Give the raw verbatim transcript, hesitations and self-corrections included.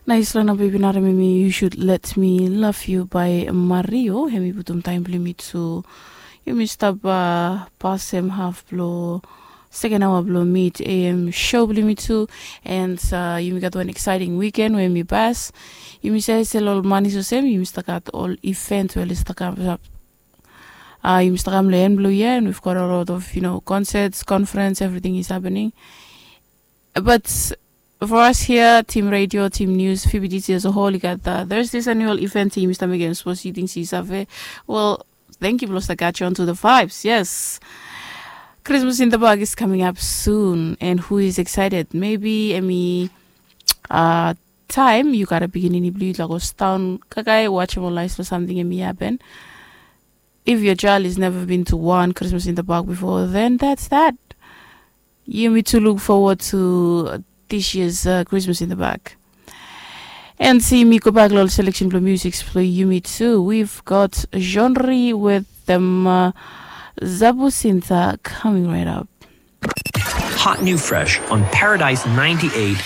Nais long namba yu bin harim em i You Should Let Me Love You by Mario. Em i putum taem blong yumi tu. Yumi stap pasem haf blong seken aoa blong mit am show blong yumi tu. And yumi gat wan exciting wiken we yumi pas. Yumi save se long ol manis olsem yumi stap gat ol event we oli stap kam. Yumi stap kam long en blong yia, and we've got a lot of, you know, concerts, conference, everything is happening. But for us here, team radio, team news, P B T C as a whole, you got the, there's this annual event team, Mr. Megan, suppose you think she's ave. Well, thank you, Blosta Gajon, to the vibes. Yes. Christmas in the Bag is coming up soon, and who is excited? Maybe, I mean, uh, time you got a beginning blue like a stone. Kakai, watch him on life for something in me happen. If your child has never been to one Christmas in the Bag before, then that's that. Yumi to look forward to this year's uh, Christmas in the Bag. And see me go back little selection blue music for Yumi too. We've got genre with them uh, Zabusinta coming right up. Hot new fresh on Paradise ninety-eight.